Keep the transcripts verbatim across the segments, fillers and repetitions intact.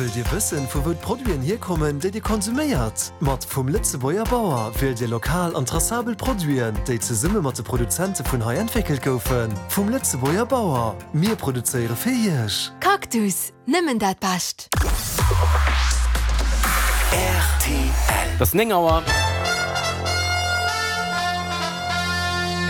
Wëllt Dir wëssen, vu wou d'Produiten hierkommen, déi Dir konsuméiert? Mat Vum Lëtzebuerger Bauer wielt Dir lokal an tracabel Produiten, déi zesumme mat de Produzente vun hei entwéckelt goufen. Vum Lëtzebuerger Bauer. Mir produzéiere fir Iech. Cactus, nëmmen dat Bescht. R T L. Et ass néng Auer.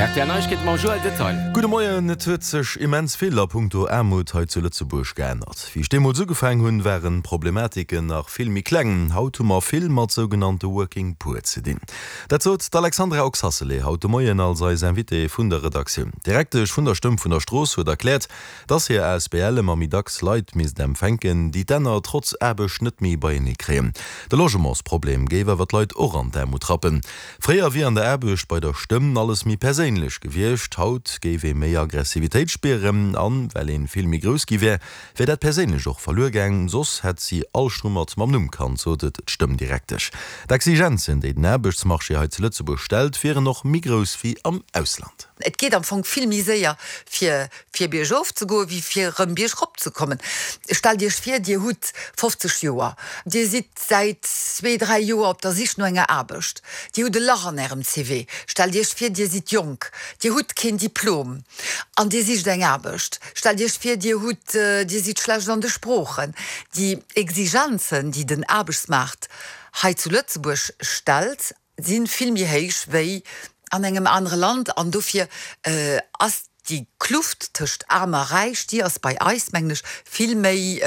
R T L Neiegkeete mam Joël Detail. Gudde Moien, Et huet sech immens vill a punkto Aarmut hei zu Lëtzebuerg geännert. Wéi ech deemools ugefaang hunn, waren d'Problematiken nach vill méi kleng. Haut hu mer vill mat sougenannte Working Poor ze dinn. Dat sot d'Alexandra Oxacelay haut de Moien als eis Invitée vun der Redaktioun. D'Direktesch vun der Stëmm vun der Strooss huet erkläert, dass hir A S B L ëmmer méi dacks Leit misst empfänken, déi d'Enner trotz Aarbecht net méi beienee kréien. De Logementsproblem géif awer d'Leit och an d'Aarmut rappen. Fréier wier an der Aarbecht bei der Stëmm alles méi perséinlech gewiescht, haut géif ee méi Aggressivitéit spieren an well ee vill méi grouss gi wär, wär dat Perséinlecht och verluer gaang, soss hätt si all Strummert mam Numm kannt, sot et d'Stëmm-Direktesch. D'Exigenzen, déi den Aarbechtsmarché hei zu Lëtzebuerg stellt, wieren och méi grouss wéi am Ausland. Et geet am Fong vill méi séier fir fir biergof ze goen, wéi fir erëm biergrop ze kommen. Stellt Iech vir, Dir hutt fofzeg Joer, Dir sidd säit zwee, dräi Joer op der Sich no enger Aarbecht, Dir hutt e Lach an Ärem C V. Stellt Iech vir, Dir sidd jonk, Dir hutt keen Diplom an Dir sicht eng Aarbecht. Stellt Iech vir, Dir hutt, Dir sidd schlecht an de Sproochen. Déi Exigenzen, déi den Aarbechtsmaart hei zu Lëtzebuerg stellt, si vill méi héich wéi an engem anere Land an dofir ass déi Kluft tëscht Aarm a Räich, déi ass bei eis, mengen ech, vill méi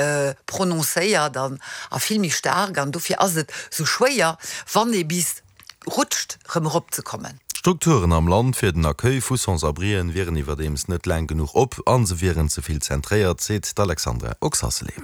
prononcéiert an a vill méi staark an dofir ass et sou schwéier, wann ee bis rutscht, rëm erop ze kommen. D'Strukturen am Land fir den Accueil vu Sans-abrien wieren iwwerdeems net laang genuch op a se wieren ze vill zentréiert, seet d'Alexandra Oxacelay.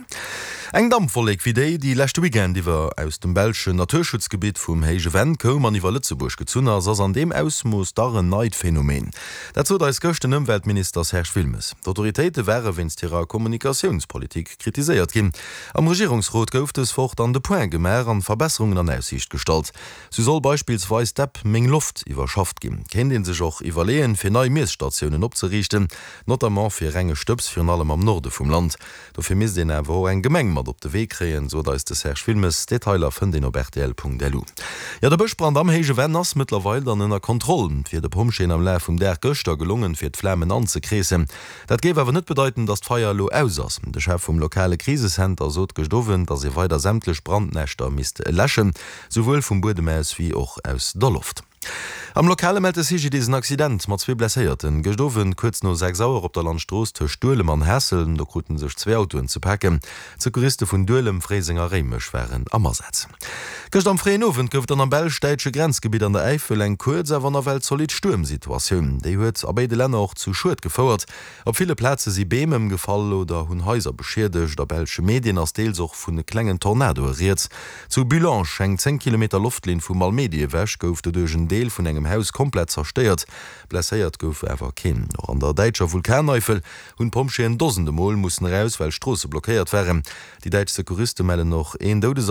Eng Dampwollek wéi déi, déi leschte Weekend iwwer aus dem belschen Naturschutzgebitt vum Héije Venn koum an iwwer Lëtzebuerg gezunn ass, ass an deem Ausmooss dach en neit Phänomen. Dat sot eis gëscht den Ëmweltminister Serge Wilmes. D'Autoritéite ware wéinst hirer Kommunikatiounspolitik kritiséiert ginn. Am Regierungsrot gouf dës Woch dann de Point gemaach an Verbesserungen an Aussiicht gestallt. Sou soll beispillsweis d'App Meng Loft iwwerschafft ginn. Kéint ee sech och iwwerleeën, fir nei Miesstatiounen opzeriichten, notamment fir renge Stëbs, virun allem am Norde vum Land. Dofir misst een awer och eng Gemeng mat op de Wee kréien, sot eis de Serge Wilmes. Detailer fënnt een op R T L Punkt L U. Jo, de Bëschbrand am Héije Venn ass mëttlerweil dann ënner Kontroll. Et wier de Pompjeeën am Laf vum Dag gëschter gelongen, fir d'Flamen anzekreesen. Dat géif awer net bedeiten, datt d'Feier elo aus ass. De Chef vum lokale Krisecenter sot gëscht Owend, datt ee weider sämtlech Brandnäschter misst läschen, souwuel vum Buedem aus wéi och aus der Loft. Am Lokale mellt de C G D I S en Accident mat zwee Blesséierten. Gëscht Owend kuerz no sechs Auer op der Landstrooss tëscht Duelem an Haassel. Do krute sech zwee Autoen ze paken. D'Secouriste vun Duelem, Fréiseng a Réimech waren am Asaz. Gëscht am fréien Owend gouf et dann am belsch-däitsche Grenzgebitt an der Äifel eng kuerz, awer nawell zolidd Stuermsituatioun. Déi huet a béide Länner och zu Schued gefouert. Op ville Plaze si Beem ëmgefall oder hunn Haiser beschiedegt. A belsche Medien ass deels och vu klengen Tornadoe rieds. Zu Bullange, eng zéng Kilometer Loftlinn vu Malmedy ewech, gouf doduerch en Deel vun engem Haus komplett zerstéiert. Blesséiert gouf awer keen. Och an der däitscher Vulkaneifel hunn d'Pompjeeën dosende Mol mussen eraus, well Stroosse blockéiert waren. Déi däitsch Secouriste mellen och een Doudesaffer.